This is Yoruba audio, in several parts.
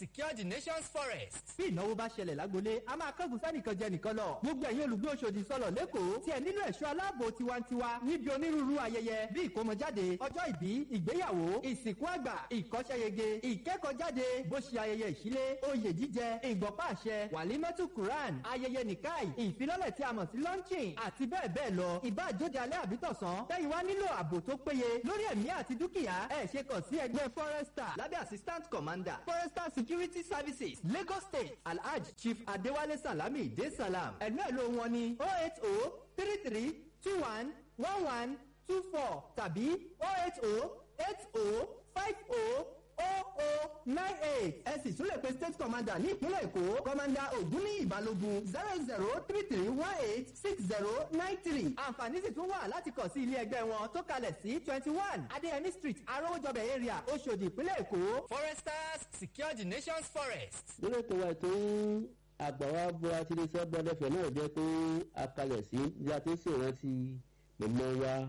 secure the nation's forest. Bí ìnáwó bá ṣẹlẹ̀ lágbolé, a máa kángun sẹ́nìkan jẹ nìkan lọ. Gbogbo ẹ̀yin olùgbé Òṣòdì sọ̀lọ̀ lẹ́kọ̀ọ́ tí ẹ nílò ẹ̀ṣọ́ aláàbò tiwantiwa níbi onírúurú ayẹyẹ bí ìkómọjáde, ọjọ́ ìbí, ìgbéyàwó, ìsìnkú àgbà, ìkọ́ṣẹ́yege, ìkẹ́kọ̀ọ́jáde, bó ṣe ayẹyẹ ìṣílé, oyè jíjẹ, ìgbọ̀pá àṣẹ, wàlímọ́tù Quran, ayẹyẹ nìkáì, ìfilọ́lẹ̀ tí a mọ̀ sí launching àti bẹ́ẹ̀ bẹ́ẹ̀ lọ. Ìbá àjóde alẹ́ àbí tọ̀sán, tẹ́yìn wá nílò ààbò tó péye lórí ẹ̀mí àti dúkìá. Ẹ ṣe kàn sí ẹgbẹ́ Forester lábẹ́ Assistant Commander Forester Security Services, Lagos State, Alhaj Chief Adewale Salami De Salam. Ẹ̀lú ẹ̀lú wọn ni 08033211124 tàbí 08080500098. Ẹ sì tún lè pe State Commander ní ìpínlẹ̀ Èkó, Commander Ògúnníyì Balógun, 0033186093. Àǹfààní sì tún wà láti kàn sí ilé ẹgbẹ́ wọn tó kalẹ̀ sí 21 Adéyẹmí Street, Arówójọbẹ̀ area, Oṣòdì, ìpínlẹ̀ Èkó. Foresters, secure the nation's forest. Lórí ètò wa, ètò yín Àgbàwá Bora ti lè sọ gbọdọ̀fẹ̀ náà jẹ́ pé a kalẹ̀ sí bí a ti ń ṣèrántí mọ̀mọ́ wa,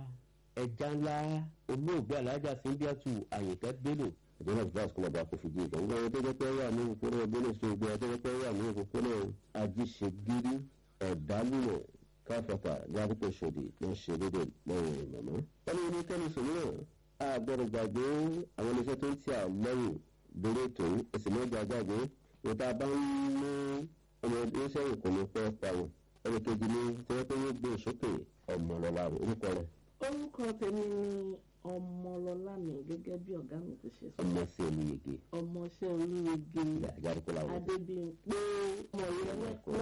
ẹja ńlá, olóògbé Alájà Síndíàtù Àyìnkẹ́ Bello. Àjọ náà bá sukùl ọba kò fi jí ìgbà gbogbo àwọn tó jẹ́ pé wà ní òpópónà Bello sí gbogbo àwọn tó jẹ́ pé wà ní òpópónà Ajíṣegírí, Ọ̀dálùmọ̀, Káfọ́tà, ládùúgbò Ṣòdì ló ń ṣe lédè lẹ́yìn mọ̀mọ́. Wọ́n ní oníkẹ́ni sòmíràn a gbọ́dọ̀ gbàgbé àwọn iléeṣẹ́ tó ń tì à lẹ́yìn lórí ètò yìí. Ẹ̀sìn mọ́jà gbàgbé ìta bá ń mú ọmọ ẹgbẹ́ sẹ́yìn kò ní pẹ́ pa wọn. Ẹnì kejì ni tí wọ́n pé yóò gbé sókè, Ọmọlọ́lá, orúkọ rẹ̀. Orúkọ tèmi ni Ọmọlọ́lá mi, gẹ́gẹ́ bí ọ̀gá mi ti ṣe sọ. Ọmọ sí Olúyege. Ọmọọṣẹ́ Olúyege. Àjàrúkọ làwọn. Adébíyìnpé Mọ̀yẹ́wẹ́pọ̀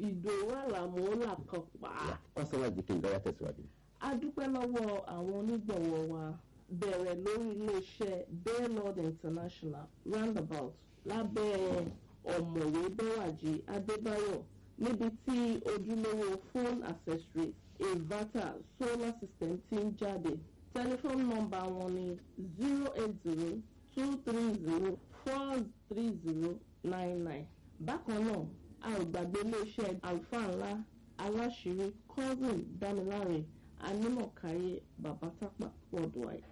Ìdòwú Àlàmú Làkànpá. Kọ́sọ́mà jìkì ìgbà tẹ̀síwájú. A dúpẹ́ lọ́wọ́ àwọn onígbọ̀wọ́ wa, bẹ̀rẹ̀ lórí iléeṣẹ́ Baylord International Roundabout lábẹ́ Ọ̀mọ̀wé Bẹ́wàjì Adébáyọ̀, níbi tí ojúlówó phone accessory, inverter, solar system ti ń jáde. Tẹlifóònù nọ́mbà wọn ni 08023043099. Bákan náà, a ò gbàgbé iléeṣẹ́ àlùfáà ńlá aláṣírí Cousin Dámiláre Anímọ̀káyé Babatapa worldwide.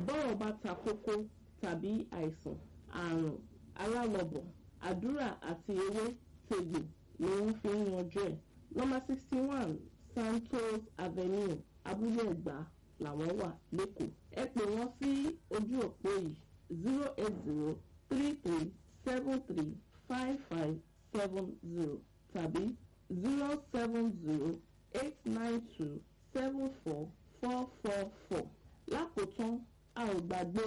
Bọ́rọ̀ bá ta kókó tàbí àìsàn, àrùn alálọ̀bọ̀, àdúrà àti ewé tegbò ni wọ́n fi ń yanjú ẹ̀. Nọ́mbà 61 Santos Avenue, Abúlé Ẹ̀gbá làwọn wà lẹ́kọ̀ọ́. Ẹ pè wọ́n sí ojú òpó yìí: 08033735570 tàbí 07089274444. Lákòótán, a ò gbàgbé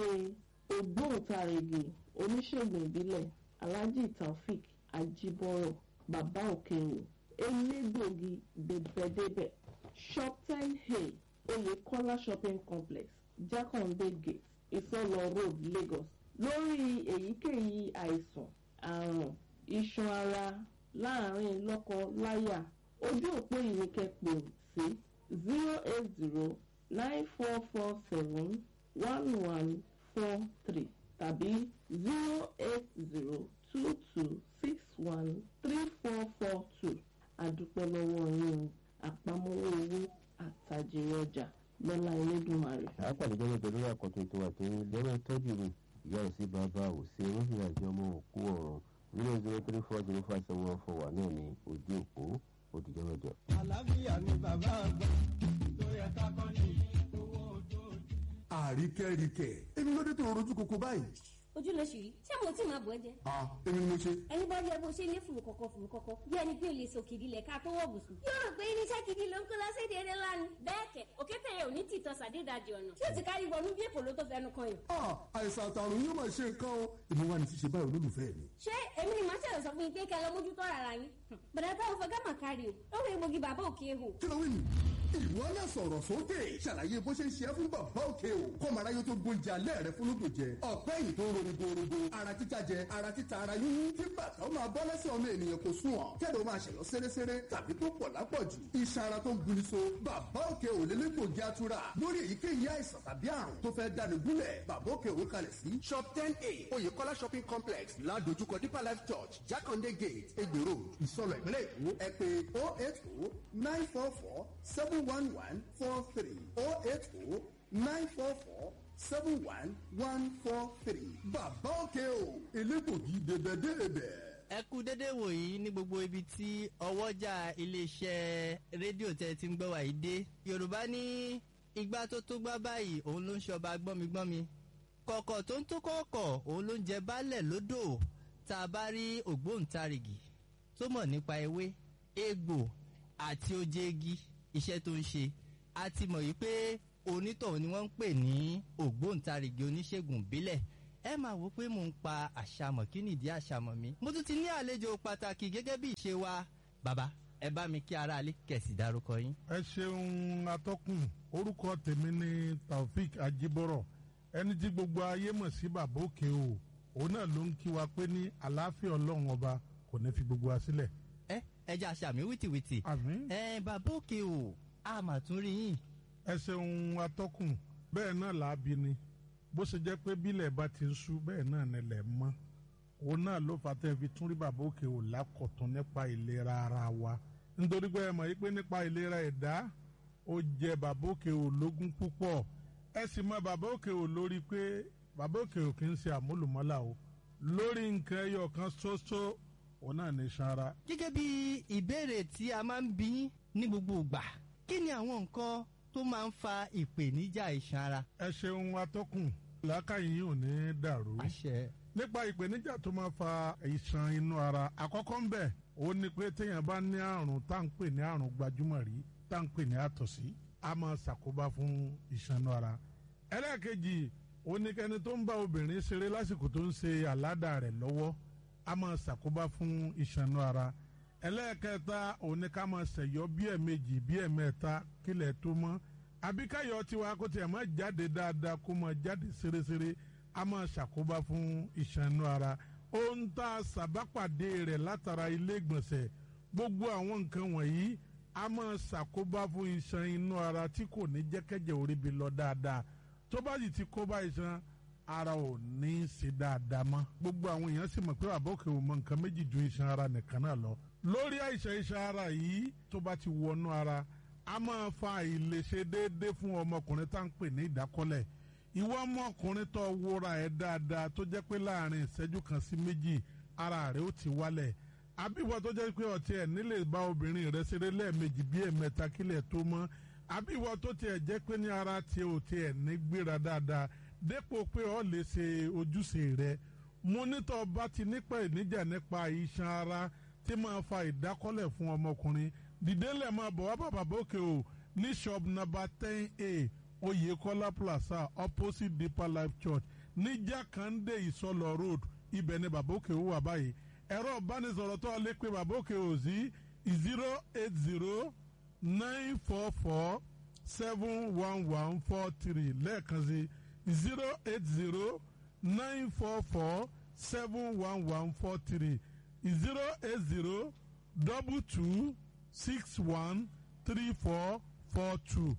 ògbóǹtarìgì oníṣègùn ìbílẹ̀ Alhaji Taofik Ajibọrọ, Bàbá Òkèwò, elégbògi débẹ̀débẹ̀, Shop 10A, Oyèkọ́lá Shopping Complex, Jakande Gate, Ìsọlọ Road, Lagos. Lórí èyíkéyìí àìsàn, àrùn iṣan ara láàrin lọ́kọ láyà, ojú òpó yìí ni kẹ́ pè sí: 08094471143 tàbí 08022613442. Àdúpẹ́ lọ́wọ́ yín o, àpamọ́wọ́ owó àtàjèrè ọjà lọ́lá Elédùmarè. Àápàdé jẹ́ pẹ̀lú àkọ́tún ètò àti lẹ́wọ̀n tọ́jú mi, ìyá ò sí, bàbá ò sí, olóṣèlú àti ọmọ òkú ọ̀run. 003405714 náà ní ojú òpó. Òdìjọ́ mẹ́jọ. Àlàáfíà ni bàbá àgbà tó yẹ ká kọ́ ní owó ojoojúmọ́. Àríkẹ́ríkẹ́, èmi ló dé tó rojú koko báyìí? Ojú ló ṣì rí. Ṣé mo tí máa bọ̀ ẹ́ jẹ? Ah, èmi ni mo ṣe. Ẹni bá rí ẹ bó ṣe ní fùrù kọ̀kọ̀ fùrù kọ̀kọ̀, bí ẹni pé o lè sòkìdí lẹ̀ ká tó wọ̀ bùsùn. Yóò rò pé irinṣẹ́ gidi ló ń kó lọ́sẹ̀dẹ̀ eré lánàá. Bẹ́ẹ̀ kẹ̀, òkété yẹn ò ní tìtọ́ sàdédàjì ọ̀nà. Tí ó ti kárí wọnú bí èkó ló tó fẹnu kan yàn. Ah, àìsàn àtàrùn yóò máa ṣe nǹkan o. Èmi wà ní ṣíṣe báyìí, olólùfẹ́ mi. Ṣé èmi ni màá ṣẹlẹ̀ sọ fún yín pé kẹ́ ẹ lọ mójútó ara yín? Bọ̀dá táwọn fẹ́ gámà kárí o. Lọ́wọ́ egbògi Bàbá Òkè Ehò. Kí ló wí nù? Ìwọ náà sọ̀rọ̀ sókè. Ṣàlàyé bó ṣe ń ṣe é fún Bàbá Òkè o. Kọ́mọ aráyé tó gbóúnjẹ alẹ́ rẹ fún lódò jẹ. Ọ̀pẹ́ yìí tó ń rorogborogo. Ara títa jẹ, ara títa, ara yúnyún. Kí bàtà ó máa bọ́ lẹ́sẹ̀ ọmọ ènìyàn kò sùn ọ̀. Kẹ́lẹ́ ó máa ṣẹ̀yọ́ séréséré tàbí tó pọ̀ lápọ̀jù. Iṣan ara tó ń guni so. Bàbá Òkè ò lélẹ́gbògi atura. Lórí èyíkéyìí àìsàn tàbí àrùn tó fẹ́ dáni gúnlẹ̀. Bàbá Òkè ò kalẹ̀ sí Shop 10A, Oyèkọ́lá Shopping Complex, ládojúkọ Deeper Life Church, Jakande Gate, Egbe Road, Ìsọlọ̀, ìpínlẹ̀ Èkó. Ẹ pè 08094471143, 0809447. 71143. Bàbá òkè o, elégbògi débẹ̀débẹ̀. Ẹ kú dédé wòyí ní gbogbo ibi tí ọwọ́jà iléeṣẹ́ rédíò tẹ́ ti ń gbọ́ wá yìí dé. Yorùbá ní igbá tó tó gbá báyìí òun ló ń ṣọba gbọ́migbọ́mi, kọ̀kọ̀ tó ń tó kọ̀ọ̀kọ̀ òun ló ń jẹ baálẹ̀ lódò. Tá a bá rí ògbóǹtarìgì tó mọ̀ nípa ewé, egbò àti oje igi, iṣẹ́ tó ń ṣe, a ti mọ̀ yìí pé onítọ̀hún ni wọ́n ń pè ní ògbóǹtarìgì oníṣègùn ìbílẹ̀. Ẹ máa wò pé mò ń pa àṣàmọ̀, kí nìdí àṣàmọ̀ mi. Mo tún ti ní àlejò pàtàkì gẹ́gẹ́ bí ìṣe wa. Bàbá, ẹ bá mi kí aráalé kẹ̀sì dárúkọ yín. Ẹ ṣeun atọ́kùn. Orúkọ tèmi ni Taofik Ajibọrọ, ẹni tí gbogbo ayé mọ̀ sí Bàbá Òkè o. Òun náà ló ń kí wa pé ní àlàáfíà Ọlọ́run ọba kò ní fi gbogbo wa sílẹ̀. Ẹ jẹ́ àṣàmì wìtìwìtì. Àmín. Ẹ Bàbá Òkè o, a mà tún rí yín. Ẹ ṣeun atọ́kùn. Bẹ́ẹ̀ náà làábi ni bó ṣe jẹ́ pé bílẹ̀ bá ti ń ṣú bẹ́ẹ̀ náà nílẹ̀ mọ́. Òun náà ló fà tẹ́ fi tún rí Bàbá Òkè o lákọ̀tún nípa ìlera ara wa, nítorí pé ẹ mọ̀ yí pé nípa ìlera ẹ̀dá ó jẹ Bàbá Òkè o lógún púpọ̀. Ẹ sì mọ Bàbá Òkè o lórí pé Bàbá Òkè o kì í ṣe àmúlùmọ́là o lórí nǹkan ẹyọ kan ṣoṣo, òun náà ní sanra. Gẹ́gẹ́ bí ìbéèrè tí a máa ń bí yín ní gbogbo ìgbà, kí ni àwọn nǹkan tó máa ń fa ìpèníjà iṣan ara? Ẹ ṣeun atọ́kùn, làákàyè yìí ò ní dàrú. Àṣẹ. Nípa ìpèníjà tó máa fa iṣan inú ara, àkọ́kọ́ ń bẹ̀ ó ní pé téèyàn bá ní àrùn tá à ń pè ní àrùn gbajúmọ̀ rí, tá à ń pè ní àtọ̀sí, a máa ṣàkóbá fún iṣan inú ara. Ẹlẹ́ẹ̀kejì ó ní kẹ́ni tó ń bá obìnrin ṣeré lásìkò tó ń ṣe àládà rẹ̀ lọ́wọ́, a máa ṣàkóbá fún iṣan inú ara. Ẹlẹ́ẹ̀kẹta ó ní ká máa ṣẹ̀yọ́ bí ẹ̀ẹ̀mejì bí ẹ̀ẹ̀mẹ́ta kílẹ̀ tó mọ́, àbí káyọ̀ tiwa kó tiẹ̀ máa jáde dáadáa, kó máa jáde ṣeréṣeré, a máa ṣàkóbá fún iṣan inú ara. Ohun tá a ṣàbápàdé rẹ̀ látara ilé ìgbọ̀nsẹ̀, gbogbo àwọn nǹkan wọ̀nyí a máa ṣàkóbá fún iṣan inú ara tí kò ní jẹ́kẹ́jẹ́ oríbi lọ dáadáa. Tó bá sì ti kóbá iṣan ara, ò ní í ṣe dáadáa mọ́. Gbogbo àwọn èèyàn sì mọ̀ pé Bàbá Òkè ò mọ nǹkan méjì ju iṣan ara nìkan náà lọ. Lórí àìsàn iṣan ara yìí, tó bá ti wọnú ara, a máa fa àìlèṣe déédéé fún ọmọkùnrin tá à ń pè ní ìdákọ́lẹ̀. Ìwọ ọmọkùnrin tó wúra ẹ̀ dáadáa, tó jẹ́ pé láàrin ìṣẹ́jú kan sí méjì ara rẹ̀ ó ti wálẹ̀, àbíwọ tó jẹ́ pé ọtí ẹ̀ nílè bá obìnrin rẹ̀ ṣeré lẹ́ẹ̀mejì bí ẹ̀mẹ́ta kílẹ̀ tó mọ́, àbíwọ tó tiẹ̀ jẹ́ pé ní ara tiẹ̀ ò tiẹ̀ ní gbéra dáadáa dépò pé ọ lè ṣe ojúṣe rẹ̀, mo nítọ́ bá ti nípa ìníjà nípa iṣan ara tí máa fa ìdákọ́lẹ̀ fún ọmọkùnrin, dìde lẹ̀ máa bọ̀ wá bàbá Òkè o ní shop number 10A, Oyekola Plaza, opposite Deeper Life Church, ní Jákàndé, Ìsọlọ Road. Ibẹ̀ ni Bàbá Òkè o wà báyìí. Ẹ̀rọ ìbánisọ̀rọ̀ tó lè pe Bàbá Òkè o sí: 08094471143. Lẹ́ẹ̀kan sí, 08094471143, 08022613442,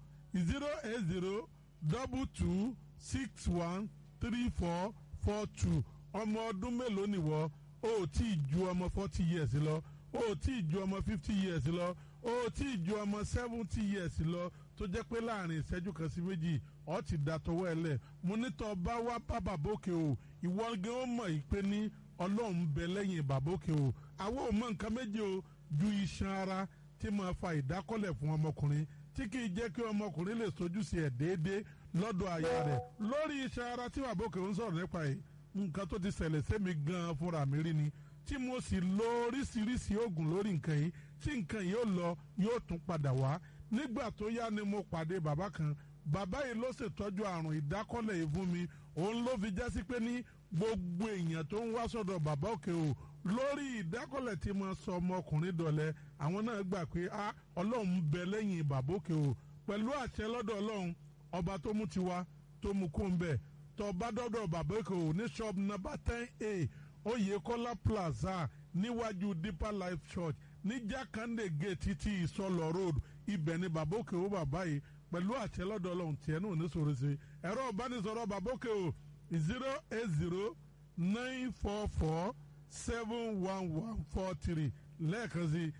08022613442. Ọmọ ọdún mélòó nìwọ? O ò tí ì ju ọmọ 40 years lọ, o ò tí ì ju ọmọ 50 years lọ, o ò tí ì ju ọmọ 70 years lọ, tó jẹ́ pé láàrin ìṣẹ́jú kan sí méjì ọ ti da tọwọ́ ẹ lẹ̀. Mo ní tọ́ bá wá bá Bàbá Òkè o, ìwọ gan ó mọ̀ yìí pé ní Ọlọ́run ń bẹ lẹ́yìn Bàbá Òkè o. Àwọn ò mọ nǹkan méje o ju iṣan ara tí máa fa ìdákọ́lẹ̀ fún ọmọkùnrin, tí kì í jẹ́ kí ọmọkùnrin lè sojúṣe ẹ̀ déédéé lọ́dọ̀ aya rẹ̀. Lórí iṣan ara tí Bàbá Òkè ń sọ̀rọ̀ nípa yìí, nǹkan tó ti ṣẹlẹ̀ sẹ́mi gan-an fúnra mi rí ni, tí mo sì lo oríṣiríṣi oògùn lórí nǹkan yìí, tí nǹkan yìí ó lọ, yóò tún padà wá. Nígbà tó yá ni mo pàdé bàbá kan. Bàbá yìí ló ṣètọ́jú àrùn ìdákọ́lẹ̀ yìí fún mi. Òun ló fi jásí pé ní gbogbo èèyàn tó ń wá sọ́dọ̀ Bàbá Òkè o lórí ìdákọ́lẹ̀ tí mo sọ ọmọkùnrin dọ̀lẹ́, àwọn náà gbà pé a Ọlọ́run ń bẹ lẹ́yìn Bàbá Òkè o. Pẹ̀lú àṣẹ lọ́dọ̀ Ọlọ́run ọba tó mú tiwa tó mú kó ń bẹ̀, tó bá dọ́dọ̀ Bàbá Òkè o ní shop number 10A, Oyekola Plaza, níwájú Deeper Life Church, ní Jákàndé Gate títí Ìsọlọ Road, ibẹ̀ ni Bàbá Òkè o bàbá yìí. Pẹ̀lú àṣẹ lọ́dọ̀ Ọlọ́run, tiẹ̀ náà ní sọ̀rọ̀ sí. Ẹ̀rọ ìbánisọ̀rọ̀ Bàbá Òkè o: 08094471143. Lẹ́ẹ̀kan sí,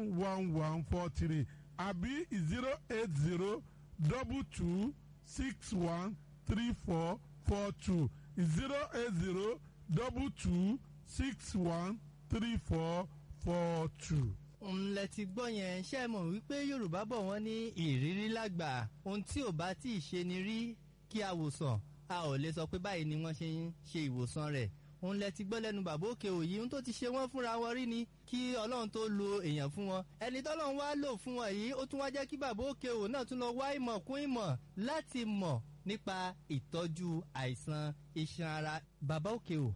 08094471143. àbí 080 22 61 34 42, 080 22 61 34 42. Ńlẹ̀ ti gbọ́ yẹn. Ṣe mọ̀ wípé Yorùbá bọ̀, wọ́n ní ìrírí lágbà. Ohun tí ò bá tí ì ṣe ni rí kí a wòsàn, a ò lè sọ pé báyìí ni wọ́n ṣe ń ṣe ìwòsàn rẹ̀. Òun lẹ ti gbọ́ lẹ́nu bàbá òkè òyì. Ohun tó ti ṣe wọ́n fúnra wọn rí ni kí Ọlọ́run tó lo èèyàn fún wọn. Ẹni tọ́lọ́run wá lò fún wọn yìí, ó tún wá jẹ́ kí bàbá òkè òun náà tún lọ wá ìmọ̀ kún ìmọ̀ láti mọ̀ nípa ìtọ́jú àìsàn iṣan ara. Bàbá òkè ò,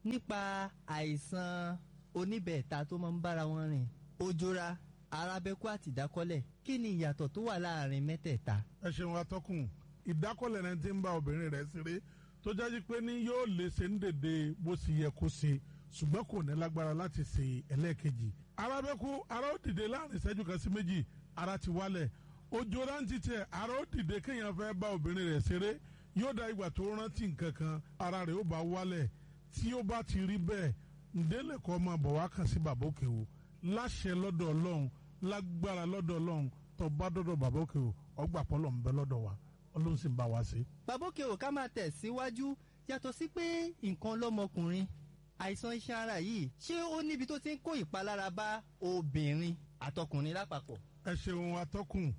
nípa àìsàn oníbẹ̀ẹ̀ta tó máa ń bára wọn rìn, ojora, arábẹ́kú àti ìdákọ́lẹ̀, kí ni ìyàtọ̀ tó wà láàrin mẹ́tẹ̀ẹ̀ta? Ẹ ṣeun, atọ́kùn. Ìdákọ́lẹ̀ náà ti ń bá obìnrin rẹ̀ ṣeré, tó jáde pé ní yóò lè ṣe ń dèdè bó sì yẹ kó ṣe, ṣùgbọ́n kò ní lágbára láti ṣe ẹlẹ́ẹ̀kejì. Arábẹ́kú, ara ó dìde láàrin ìṣẹ́jú kan sí méjì, ara ti wálẹ̀. Ojora ń titẹ̀, ara ó dìde kéèyàn fẹ́ bá obìnrin rẹ̀ ṣeré, yóò da ìgbà tó rántí nǹkan kan, ara rẹ̀ ó bá wálẹ̀. Tí ó bá ti rí bẹ́ẹ̀, ǹdẹ́lẹ̀ kọ́ máa bọ̀ wá kàn sí bàbá òkè o. Láṣẹ lọ́dọ̀ Ọlọ́run, lágbára lọ́dọ̀ Ọlọ́run, tó bá dọ́dọ̀ bàbá òkè o, ọgbà pọ́lọ̀ ń bẹ lọ́dọ̀ wa, Ọlọ́run sì ń bá wa ṣe. Bàbá òkè ò, ká máa tẹ̀ síwájú. Yàtọ̀ sí pé nǹkan lọ́mọkùnrin, àìsàn iṣan ara yìí, ṣé ó níbi tó ti ń kó ìpalára bá obìnrin àtọkùnrin lápapọ̀? Ẹ ṣeun, atọ́kùn.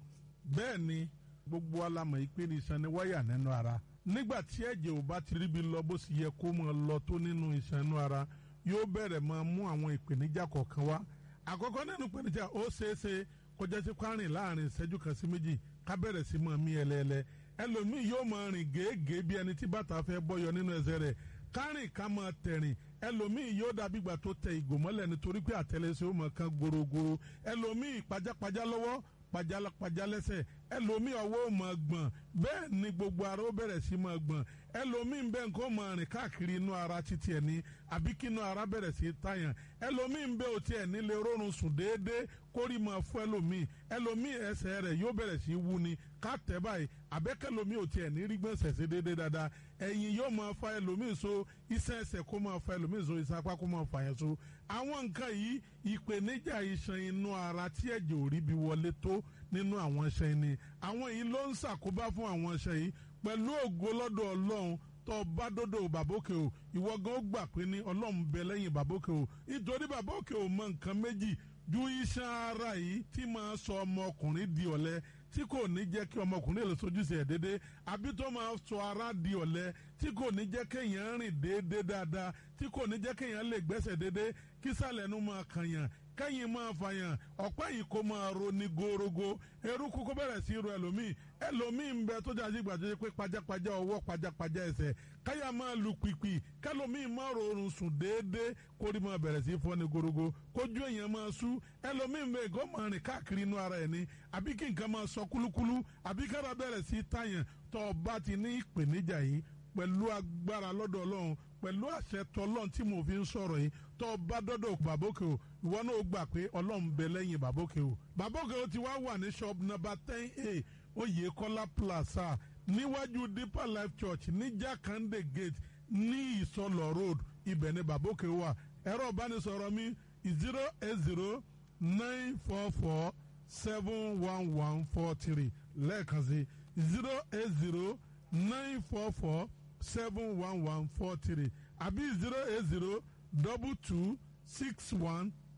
Bẹ́ẹ̀ ni, gbogbo alamọ̀ ìpín iṣan ni wáyà nínú ara. Nígbà tí ẹ̀jẹ̀ ò bá ti ríbi lọ bó sì yẹ kó máa lọ tó nínú iṣan inú ara, yóò bẹ̀rẹ̀ máa mú àwọn ìpèníjà kọ̀ọ̀kan wá. Àkọ́kọ́ nínú ìpèníjà, ó ṣeéṣe kó jẹ́ sí kwárìn láàrin ìṣẹ́jú kan sí méjì, ká bẹ̀rẹ̀ sí máa mí ẹlẹ́ẹ̀lẹ́. Ẹlòmíì yóò máa rìn gèégèé bí ẹni tí bàtà fẹ́ bọ́yọ nínú ẹsẹ̀ rẹ̀, kárìn ká máa tẹ̀rìn. Ẹlòmíì yóò dàbí ìgbà tó tẹ ìgò mọ́lẹ̀, nítorí pé àtẹlẹsẹ̀ ó máa kan gorogoro. Ẹlòmíì, pajápajá lọ́wọ́, pajápajá lẹ́sẹ̀. Ẹlòmíì, ọwọ́ ó máa gbọ̀n, bẹ́ẹ̀ ni gbogbo ara ó bẹ̀rẹ̀ sí máa gbọ̀n. Ẹlòmíì bẹ́ẹ̀, nǹkan ó máa rìn káàkiri inú ara títí ẹ̀ ní, àbí kí inú ara bẹ̀rẹ̀ sí tàyàn. Ẹlòmíì bẹ́ẹ̀, ò tiẹ̀ nílé rọrùn sùn déédéé, kórì máa fún ẹlòmíì. Ẹlòmíì, ẹsẹ̀ rẹ̀ yóò bẹ̀rẹ̀ sí wú ni ká tẹ̀ báyìí, àbẹ́kẹ́lòmíì ò tiẹ̀ ní rí gbọ̀nsẹ̀ sí déédéé dáadáa. Ẹ̀yìn yóò máa fa ẹlòmíì so, iṣan ẹsẹ̀ kó máa fa ẹlòmíì so, iṣan apá kó máa fa yẹn so. Àwọn nǹkan yìí, ìpèníjà iṣan inú ara tí ẹ̀jẹ̀ ò rí bí wọlé tó nínú àwọn iṣan ni. Àwọn yìí ló ń ṣàkóbá fún àwọn iṣan yìí. Pẹ̀lú ògo lọ́dọ̀ Ọlọ́run, tó bá dọ́dọ̀ bàbókè o, ìwọ gan ó gbà pé ní Ọlọ́run bẹ lẹ́yìn bàbókè o, nítorí bàbókè o mọ nǹkan méjì ju iṣan ara yìí tí máa sọ ọmọkùnrin di ọ̀lẹ, tí kò ní jẹ́ kí ọmọkùnrin lè sojúṣe ẹ̀ déédéé, àbí tó máa sọ ara di ọ̀lẹ, tí kò ní jẹ́ kéèyàn rìn déédéé dáadáa, tí kò ní jẹ́ kéèyàn lè gbẹ́sẹ̀ déédéé, kí sàlẹ̀ nu máa kànyàn, kẹ́yìn máa fàyàn, ọ̀pá yìí kó máa ro ní gorogo, eruku kó bẹ̀rẹ̀ sí ro ẹlòmíì. Ẹlòmíì ń bẹ tó jáde ìgbà tó ṣe pé pajápajá ọwọ́, pajápajá ẹsẹ̀, káyà máa lu pìpì, kẹlòmíì máa rọrùn sùn déédéé, kórì máa bẹ̀rẹ̀ sí fọ́ ní gorogo, kójú èèyàn máa sú. Ẹlòmíì ń bẹ, ìgò máa rìn káàkiri inú ara ẹ̀ ni, àbí kí nǹkan máa sọ kúlúkúlú, àbí kára bẹ̀rẹ̀ sí tàyàn. Tó o bá ti ní ìpèníjà yìí, pẹ̀lú agbára lọ́dọ̀ Ọlọ́run, pẹ̀lú àṣẹ tọlọ́run tí mo fi ń sọ̀rọ̀ yìí, tó o bá dọ́dọ̀ bàbókè o, ìwọ náà ó gbà pé Ọlọ́run bẹ lẹ́yìn bàbókè o. Bàbókè o ti wá wà ní shop number 10A, Oyèkọ́lá Plaza, níwájú Deeper Life Church, ní Jakande Gate, ní Ìsọlọ̀ Road. Ibẹ̀ ni bàbókè wà. Ẹ̀rọ ìbánisọ̀rọ̀ mi, 08094471143. Lẹ́ẹ̀kan sí, 08094471143 àbí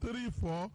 08022613442,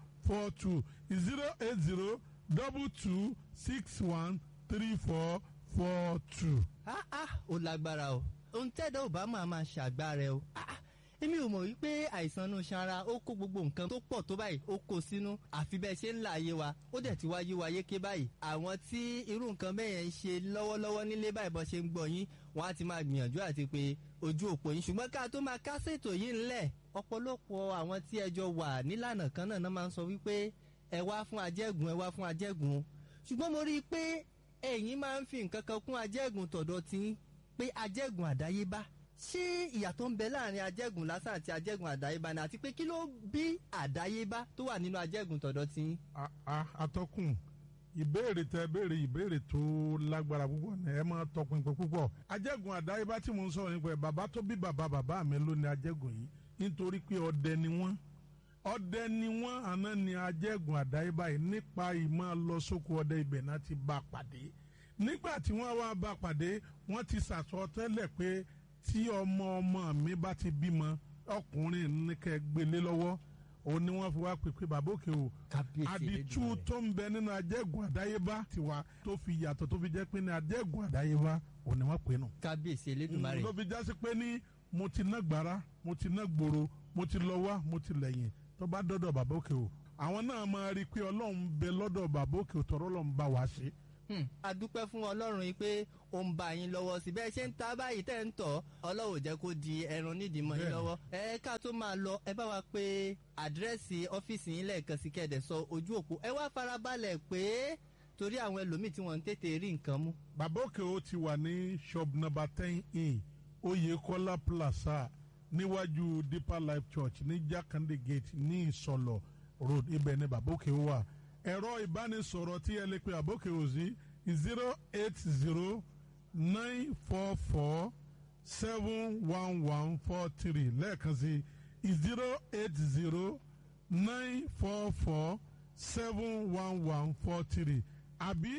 08022613442. Ah ah, ó lágbára o. Ohun tẹ́dọ̀ ò bá máa máa ṣàgbá rẹ o. Ah ah, èmi ò mọ̀ wípé àìsàn inú iṣan ara ó kó gbogbo nǹkan tó pọ̀ tó báyìí, ó kó sínú. Àfi bẹ́ẹ̀ ṣe ń là ayé wa, ó dẹ̀ ti wá yé wa yéké báyìí. Àwọn tí irú nǹkan bẹ́ẹ̀ yẹn ń ṣe lọ́wọ́lọ́wọ́ nílé báyìí, bọ́ ṣe ń gbọ́ yín, wọ́n á ti máa gbìyànjú àti pé ojú òpó yín. Ṣùgbọ́n ká tó máa kásètò yìí ńlẹ̀, ọ̀pọ̀lọpọ̀ àwọn tí ẹjọ́ wà nílànà kan náà máa ń sọ wípé ẹ wá fún ajẹ́gùn, ẹ wá fún ajẹ́gùn. Ṣùgbọ́n mo rí i pé ẹ̀yin máa ń fi nǹkan kan kún ajẹ́gùn tọ̀dọ̀ tí pé ajẹ́gùn àdáyébá. Ṣé ìyàtọ̀ ń bẹ láàrin ajẹ́gùn lásán àti ajẹ́gùn àdáyébá ni, àti pé kí ló bí àdáyébá tó wà nínú ajẹ́gùn tọ̀dọ̀ tí? Atọ́kùn, ìbéèrè tẹ béèrè, ìbéèrè tó lágbára púpọ̀ ni. Ẹ máa tọpinpin púpọ̀. Ajẹ́gùn àdáyébá tí mo ń sọ̀rọ̀ nípa ẹ̀, bàbá tó bí bàbá bàbá mi ló ní ajẹ́gùn yìí, nítorí pé ọdẹ ni wọ́n. Ọdẹ ni wọ́n, àná ni ajẹ́gùn àdáyébá yìí nípa ìmọ̀ lọ sóko ọdẹ, ibẹ̀ náà ti bá pàdé. Nígbà tí wọ́n wá bá pàdé, wọ́n ti sàsọtẹ́lẹ̀ pé tí ọmọ ọmọ mi bá ti bímọ ọkùnrin ní kẹ́ gbélé lọ́wọ́. Òun ni wọ́n fi wá pèpè bàbá òkè o. Àdìtú tó ń bẹ nínú ajẹ́gùn àdáyébá tiwa tó fi yàtọ̀, tó fi jẹ́ pé ní ajẹ́gùn àdáyébá òun ni wọ́n pè nù. Kábíyèsí Elédùmarè. Ló fi jásí pé ní mo ti ná gbàrà, mo ti ná gbòòrò, mo ti lọ wá, mo ti lẹ́yìn, tó bá dọ́dọ̀ bàbá òkè o, àwọn náà máa rí i pé Ọlọ́run bẹ lọ́dọ̀ bàbá òkè o, tọ̀rọ̀ Ọlọ́run bá wa ṣe. A dúpẹ́ fún Ọlọ́run yìí pé ó ń bá yín lọ́wọ́ sí bẹ́ẹ̀ ṣe ń ta báyìí tẹ́ ń tọ̀. Ọlọ́run ò jẹ́ kó di ẹran nídìí mọ́ yín lọ́wọ́. Ẹ ká tó máa lọ, ẹ bá wa pé àdírẹ́sì ọ́fíìsì yín lẹ́ẹ̀kan sí, kẹ́ẹ̀dẹ̀ sọ ojú òpó. Ẹ wá farabalẹ̀ pé torí àwọn ẹlòmíì tí wọ́n ń tètè rí nǹkan mú. Bàbá òkè o ti wà ní shop number 10A, Oyekola Plaza, níwájú Deeper Life Church ní Jakande Gate ní Ìsọlọ̀ Road. Ibẹ̀ ni bàbá òkè o wà. Ẹ̀rọ ìbánisọ̀rọ̀ tí ẹ lè pe bàbá òkè o sí: 08094471143. Lẹ́ẹ̀kan sí, 08094471143 àbí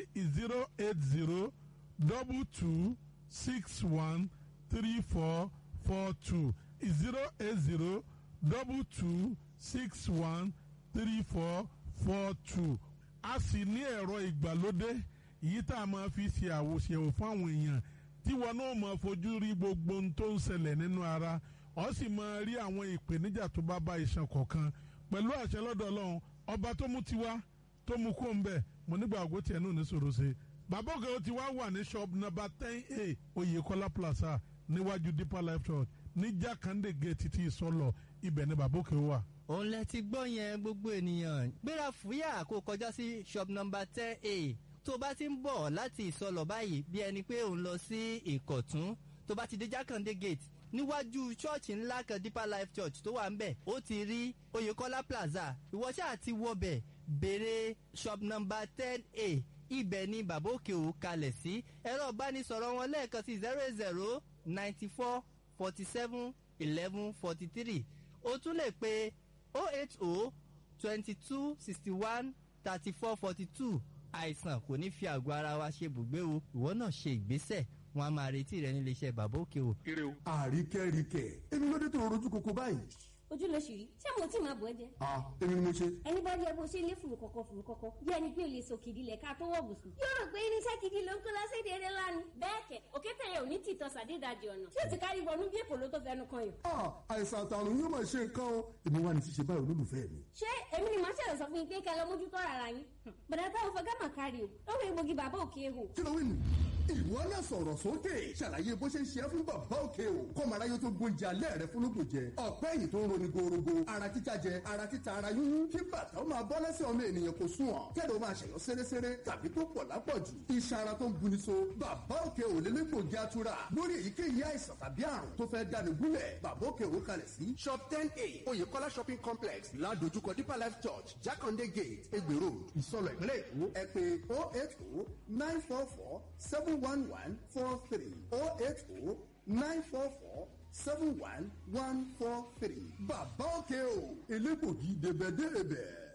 08022613442, 08022613442. A sì ní ẹ̀rọ ìgbàlódé yìí tá a máa fi ṣe àwòṣe fún àwọn èèyàn tí wọn náà máa fojú rí gbogbo ohun tó ń ṣẹlẹ̀ nínú ara, ó sì máa rí àwọn ìpèníjà tó bá bá iṣan kọ̀ọ̀kan. Pẹ̀lú àṣẹ lọ́dọ̀ Ọlọ́run ọba tó mú tiwa tó mú kó ń bẹ̀, mo nígbà ògbó tiẹ̀ náà ní sòrò ṣe. Bàbá òkè ó ti wá wà ní shop number 10A, Oyekola Plaza, níwájú Deeper Life Church ní Jakande Gate títí Ìsọlọ. Ibẹ̀ ni bàbá òkè wà. Òun lẹ ti gbọ́ yẹn. Gbogbo ènìyàn, gbéra fúyà kó kọjá sí shop number 10A. Tó bá ti ń bọ̀ láti Ìsọlọ̀ báyìí, bí ẹni pé òun lọ sí Ìkọ̀tún, tó bá ti dé Jákàndé Gate, níwájú ṣọ́ọ̀ṣì ńlá kan, Deeper Life Church tó wà ń bẹ̀, ó ti rí Oyèkọ́lá Plaza. Ìwọ ṣáà ti wọbẹ̀, béèrè shop number 10A. Ibẹ̀ ni bàbá òkè ò kalẹ̀ sí. Ẹ̀rọ ìbánisọ̀rọ̀ wọn lẹ́ẹ̀kan sí: 0094471143. O tún lè pe 08022613442. Àìsàn kò ní fi àgọ́ ara wa ṣe bùgbé o. Ìwọ náà ṣe ìgbésẹ̀, wọn a máa retí rẹ nílé iṣẹ́ bàbá òkè o. Àríkẹ́ríkẹ́ èmi ló dé tó rojú koko báyìí. Ojú ló ṣì rí, ṣé mo tí máa bọ̀ ẹ́ jẹ. A, èmi ni mo ṣe. Ẹni bá rí ẹ bó ṣe lé fùrù kọ̀kọ̀ fùrù kọ̀kọ̀, bí ẹni pé o lè sòkìdí lẹ̀ ká tó wọ̀ bùsùn. Yóò rò pé irinṣẹ́ gidi ló ń kó lọ sí èdè eré lánàá. Bẹ́ẹ̀ kẹ̀, òkété yẹn ò ní tìtọ́ sàdédàjì ọ̀nà tí ó ti kárí wọnú bí èkó ló tó fẹnu kan yàn. A, àìsàn àtàrùn yóò máa ṣe nǹkan o. Èmi wà ní ṣíṣe báyìí, olólùfẹ́ mi. Ṣé èmi ni màá ṣẹlẹ̀ sọ fún yín pé kẹ́ lọ mójútó ara yín? Bọ̀dá táwọn fọgá mà kárí o, lọ́wọ́ egbògi bàbá òkè hò. Kí ló wí nù? Ìwọ náà sọ̀rọ̀ sókè, ṣàlàyé bó ṣe ń ṣe é fún bàbá òkè o, kọ́mọ aráyé tó gbóúnjẹ alẹ́ rẹ fún lóògùn jẹ. Ọ̀pẹ́ yìí tó ń roni gorogo, ara títa jẹ, ara títa, ara yúnyún, kí bàtà ó máa bọ́ lẹ́sẹ̀ ọmọ ènìyàn kò sùn ọ̀, kẹ́lẹ́ ó máa ṣẹ̀yọ́ sérésére tàbí tó pọ̀ lápọ̀jù, iṣan ara tó ń buni so. Bàbá òkè ò lè légbògi atura lórí èyíkéyìí àìsàn tàbí àrùn tó fẹ́ dáni gúnlẹ̀. Bàbá òkè ò kalẹ̀ sí shop 10A, Oyèkọ́lá Shopping Complex, ládojúkọ Deeper Life Church, Jakande Gate, Egbe Road, Ìsọlọ̀, ìpínlẹ̀ Èkó. Ẹ pè 08094471143, 08094471143. Bàbá òkè o, elégbògi débẹ̀débẹ̀.